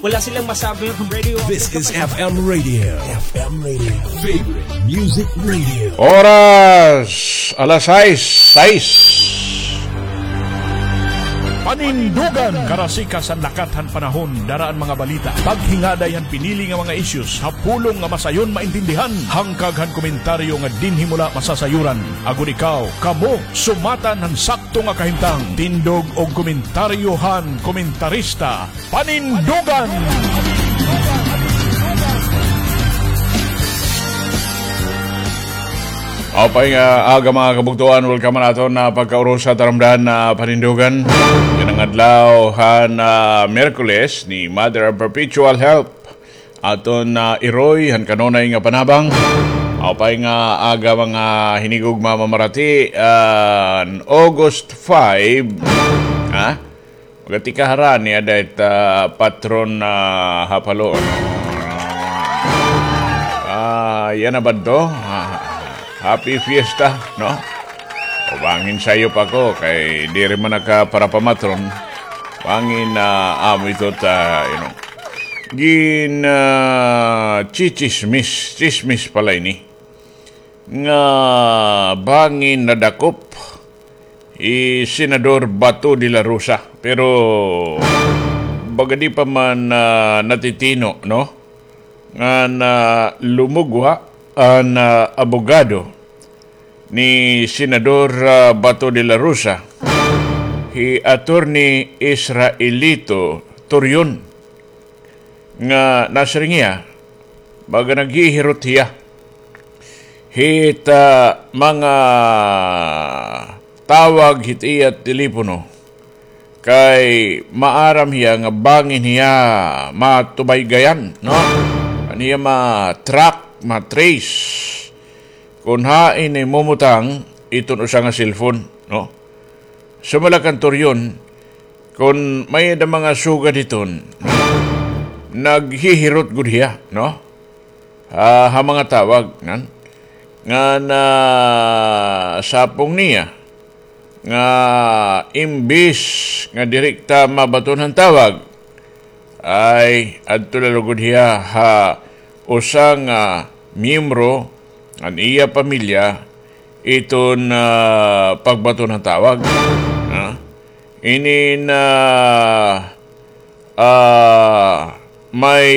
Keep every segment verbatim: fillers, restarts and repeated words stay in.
Wala silang masabi ang radio. This is F M Radio. F M Radio. Favorite Music Radio. Oras, alas sais, sais. Panindugan, karasikas han lakat han panahon, dara an mga balita. Paghingaday han pinili nga mga issues, ha pulong nga masayon maintindihan, hangkag han komentaryo nga dinhi mo la masasayuran. Agod ikaw, kamo, sumatan han sakto nga kahimtang. Tindog og komentaryo han komentarista. Panindugan! Maupay nga aga, mga kabugtoan, welcome han aton nga pagkaurusa, taramdan nga Panindugan. Yana nga adlaw han, ah, Miyerkules ni Mother of Perpetual Help. Aton nga iroy han kanunay nga panabang. Maupay nga aga, mga hinigugma, mamarati, ah, August five. Ha? Magati ka harani ada it, ah, patron, ah, ha Palo, no? Ah, yana ba adto? Ah, happy fiesta, no? O, bangin sayop ako kay diri man naka para pamatron. Bangin, ah, amo ito ta, you know. Gin, ah, chichismis, chismis pala ini. Nga bangin nadakop hi Senador Bato de la Rosa. Pero baga di pa man, ah, natitino, no? Nga na lumugwa an, ah, abogado ni Senador, ah, Bato de la Rosa, hi Attorney Israelito Torion. Nga nasiring hiya, baga naghihirot hiya hit, ah, mga tawag hit iya telepono, kay maaram hiya nga bangin hiya matubaygayan, no? An hiya ma-track, ma-trace kon hain himumutang iton usa nga cellphone, no? Sumala kan Torion, kon may-ada mga sugad hiton, naghihirot gud hiya, no? Ah, ha mga tawag, nan? Nga nasapong niya nga imbis nga direkta mabaton han tawag, ay adto la lugod hiya ha usa nga miyembro han iya pamilya iton, ah, pagbaton han tawag. Ha? Inin, ah, ah, may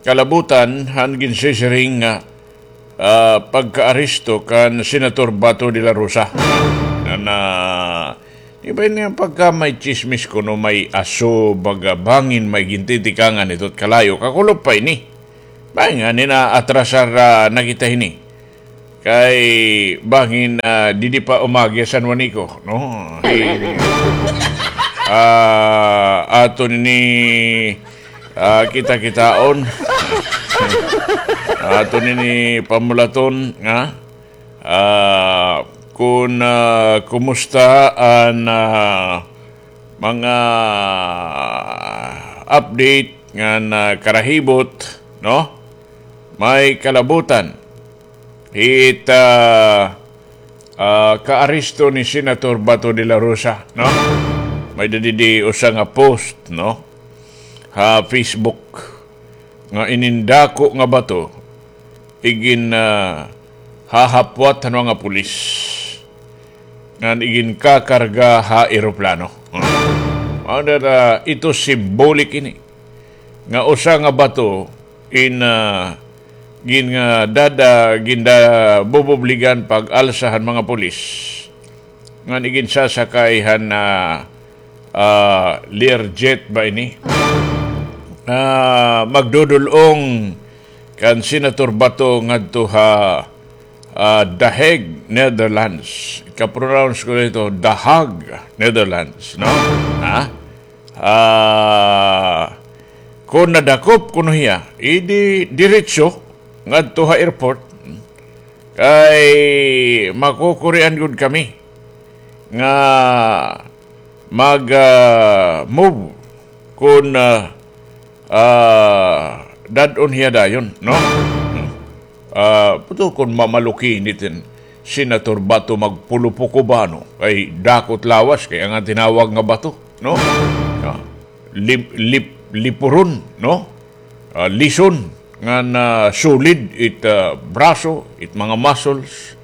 kalabutan han ginsisiring nga, ah, pagkaaresto kan Senator Bato de la Rosa. Na, na, di ba ini nga pagka may tsismis kuno may aso, baga bangin may gintitikangan ito kalayo, kakulop pa ini. Bangin nga nina atrasar, ah, na kita hini. Kay bangin, ah, didi pa umagi San Juanico, no? Hi-, ah, aton ini, ah, kita-kitaon. Aton ini pamulaton nga, ah, kun, ah, kumusta an, ah, mga update ngan karahibot, no? May kalabutan hit, ah, ah, kaaresto ni Senator Bato de la Rosa, no? May-ada didi usa nga post, no? Ha Facebook nga inin dako nga bato igin, ah, hahapwat han mga pulis ngan iginkakarga ha eroplano. Mao na, ah, ito symbolic ini nga usa nga bato in, ah, gin-, nga dada-, gindabububligan pag-alsa han mga pulis ngan iginsasakay han, ah, ah, Learjet ba ini? Ah, magdudul-ong kan Senator Bato ngadto ha, ah, The Hague, Netherlands. Ika-pronounce ko dito, The Hague, Netherlands, no? Ha? Ah, kon nadakop kuno hiya, idi diretso ngadto ha airport. Kay makukurian gud kami nga mag, ah, move kon, ah, ah, dad-on hiya dayon, no? Ah, puto kon mamaluki nitin Senator Bato magpulupo Cubano, kay dako it lawas, kay an tinawag nga bato, no? Ah, lip-, lip-, lipuron, no? Ah, lison, ngan, ah, solid it, ah, braso, it mga muscles,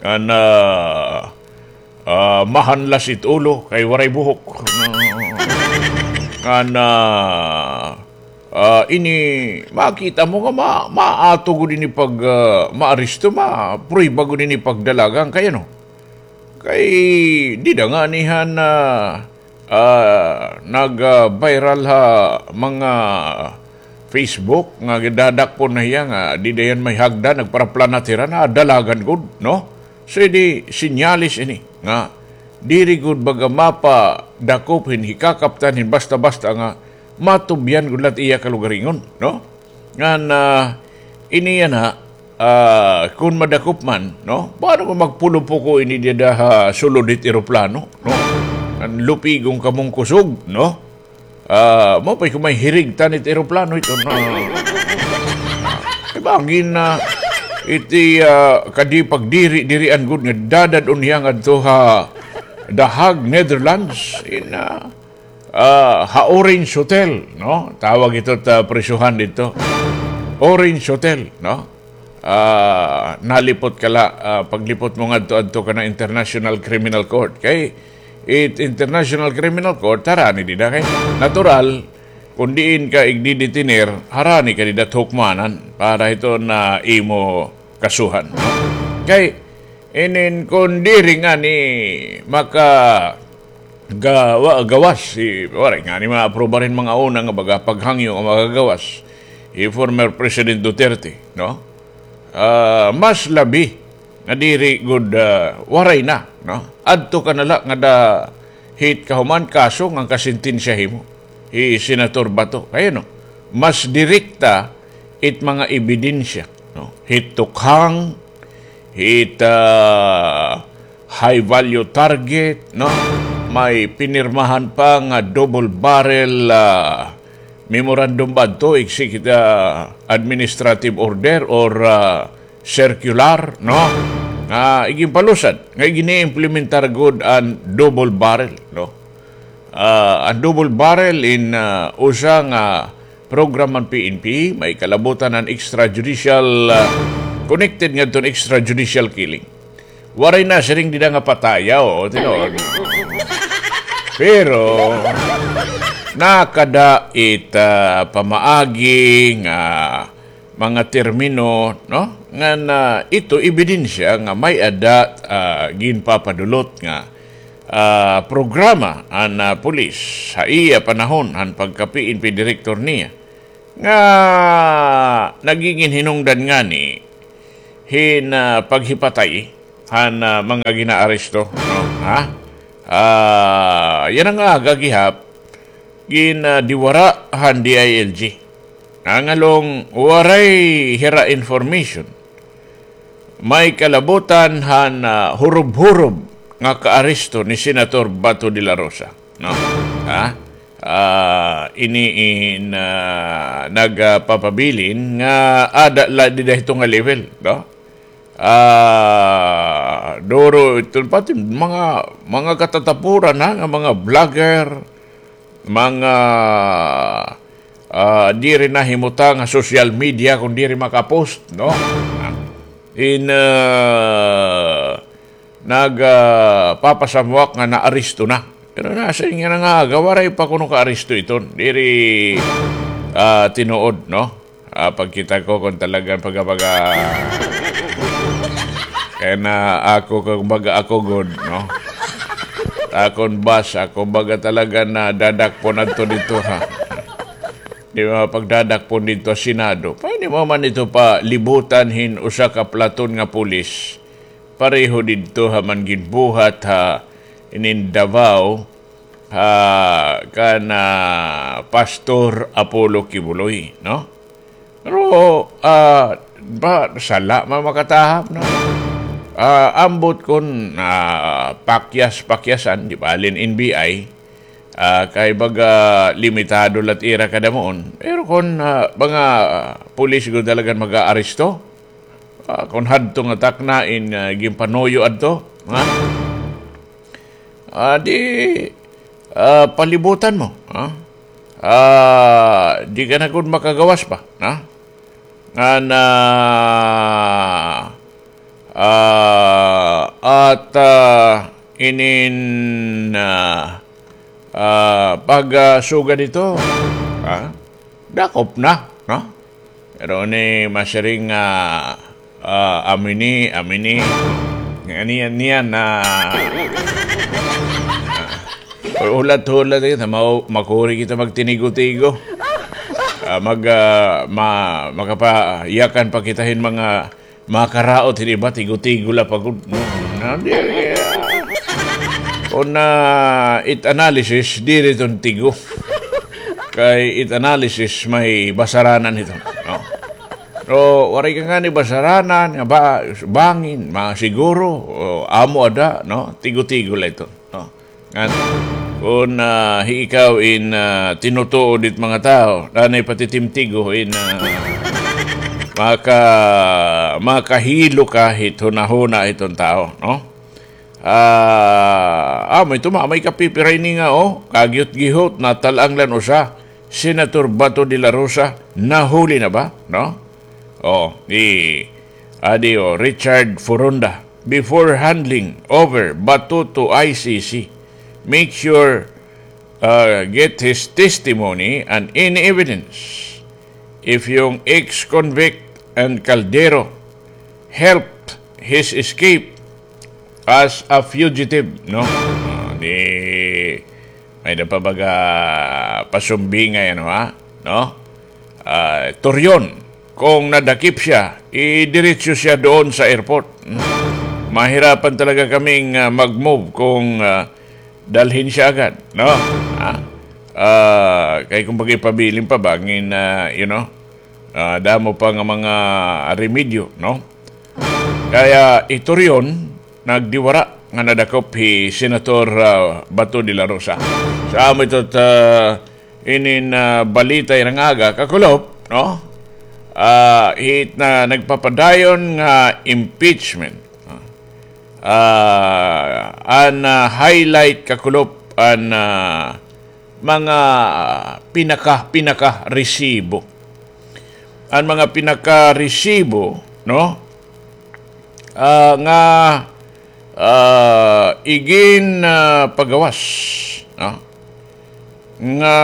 ngan, ah, ah, mahanlas it ulo, kay waray buhok. Ngan, ah, ah, ini, makita mo nga ma-, maato gud ini pag, ah, maaresto, ma-, prueba gud ini pagdalagan, kay ano? Kay dida ngani han, ah, ah, nag, ah, viral ha mga Facebook nga gidadakpon na hiya nga dida hiya may hagdan, nagparaplanat hira, nadalagan gud, no? So, idi senyales ini nga diri gud baga mapadakop hin hikakaptan hin basta-basta nga matubyan gud la it iya kalugaringon, no? Ngan, ah, ini yana, ah, kon madakop man, no? Paano kon magpulupo ko ini dida ha sulod hit eroplano, no? Ngan lupigon kamo hin kusog, no? Ah, mao pa kon may hirigtan it eroplano ito, no? Kay bangin na iti, ah, kadi pagdiri-dirian gud nga dadad-on hiya ngadto ha The Hague, Netherlands, in, ah, ah, ha Orange Hotel, no? Tawag ito ta prisuhan didto. Orange Hotel, no? Ah, nalipot ka la, ah, paglipot mo ngadto adto ka na International Criminal Court. Kay it International Criminal Court, harani dida kay natural, kon diin ka igdidetiner, harani ka dida hukmanan para hiton imo kasuhan, no? Kay inin kon diri ngani maka gawa-, gawas, si, waray ngani maaprubar hin mga una nga baga paghangyo nga makagawas hi former President Duterte, no? Ah, mas labi nga diri gud, ah, waray na, no? Adto ka na la ngada hit kahuman kaso ngan kasentensya himo hi Senator Bato. Kay ano, mas direkta it mga ebidensya, no? Hit tukhang, hit, ah, high value target, no? May pinirmahan pa nga double barrel, ah, memorandum ba adto, executive, ah, administrative order or, ah, circular, no? Nga iginpalusad, nga igini-implementar gud an double barrel, no? Ah, an double barrel in, ah, usa nga program han P N P, may kalabutan an extrajudicial, ah, connected ngadton extrajudicial killing. Waray nasiring dida nga patay, o, tinuod. Pero, nakada it, ah, pamaagi nga mga termino, no? Ngan ito ebidensya nga may-ada, ah, ginpapadulot nga, ah, programa an, ah, pulis ha iya panahon han pagka-P N P direktor niya nga nagigin hinungdan ngani hin, ah, paghipatay han, ah, mga ginaaresto, no? Ha? Ah, yana nga aga gihap, gin, ah, diwara han D I L G. Nangalong waray hira information may kalabutan han, ah, hurob-hurob nga kaaresto ni Senator Bato de la Rosa, no? Ha? Ah, ini in, ah, nagpapabilin nga ada la dida hito nga level, no? Ah, duro ito, pati mga, mga katatapuran, ha, nga mga vlogger, mga, ah, diri nahimutang ha social media kon diri makapost, no? In, ah, nag, ah, papasamwak nga naaresto na. Pero nasiring yana nga aga, waray pa kuno kaaresto iton. Diri, ah, tinuod, no? Ah, pagkita ko kon talagang pagka-, pagka-, kay na ako, kon baga ako gud, no? Akon bas, ako baga talaga nadadakpon adto didto, ha? Di ba, pagdadakpon didto ha Senado. Pwede mo man ito palibutan hin usa ka platon nga pulis. Pareho didto ha man ginbuhat ha inin Davao, ha, kan, ah, Pastor Apollo Quiboloy, no? Pero, ah, ba, sala man makatahap, no? Ah, ambot kon, ah, pakyas-pakyasan, di ba, halin N B I, ah, kay baga limitado la it ira kadamuon. Pero kon, ah, mga, ah, pulis gud talagan mag-aaresto, ah, kon hadto nga takna in, ah, ginpanuyo adto, ha? Ah, di, ah, palibutan mo, ha? Ah, di ka na gud makagawas pa, ha? Ngan, ah, ah, at, ah, inin, ah, ah, pag, ah, sugad ito, ha? Dakop na, no? Pero ni masiring nga, ah, amini, amini. Nga niyan, niyan na, ah, hulat-hulat kita, mau-, makuri kita magtinigo-tigo. Ah, mag, ah, ma-, makapayakan pa kita hin mga makaraot hin iba, tigo-tigo la pa gud. No, di, ah, kon, ah, it analysis, diri iton tigo. Kay it analysis may basaranan ito. No? Pero waray ka ngani basaranan, nga ba, bangin, masiguro, o, amo ada, no? Tigo-tigo la ito, no? Ngan, kon, ah, hi ikaw in, ah, tinutuod it mga tawo, danay patitimtigo in, ah, maka-, makahilo ka hit hunahuna hiton tawo, no? Ah, amo ito, may kapipiray ini nga, o, kagihot-gihot, natal-ang la an usa, Senator Bato de la Rosa, nahuli na ba? No? O, ni, adi, o, Richard Furonda, before handing over Bato to I C C, make sure, uh, get his testimony and any evidence if yung ex-convict and Caldero helped his escape as a fugitive, no? Ah, di, may da pa baga pasumbingay, ano, ha? No? Ah, Torreon, kung nadakip siya, idiretso siya doon sa airport. Hmm? Mahirapan talaga kaming, ah, mag-move kung, ah, dalhin siya agad, no? Ha? Ah, kay kung pag-ipabilin pa, bangin, ah, you know, ah, damo pa nga mga remedyo, no? Kaya hi Torreon, nagdiwara nga nadakop hi Senator, ah, Bato de la Rosa. Sa amo ito, ah, inin, ah, balita nga aga, kakulop, no? Ah, hit na nagpapadayon nga impeachment. Ah, an, ah, highlight, kakulop, an, ah, mga pinaka, pinaka-resibo. An mga pinaka-resibo, no? Ah, nga, ah, igin, ah, pagawas, no? Nga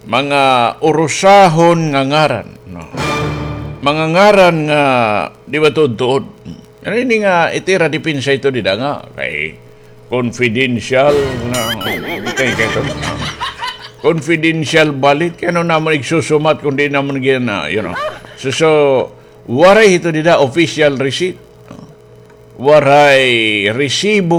mga urusahon nga ngaran, no? Mga ngaran nga di ba tuod-tuod? Ano ini nga itira depensa ito dida nga kay confidential nga, kay, kay, confidential ballot, kay ano namon igsusumat kung di namon gina, you know. So, so, waray ito dida official receipt. Waray resibo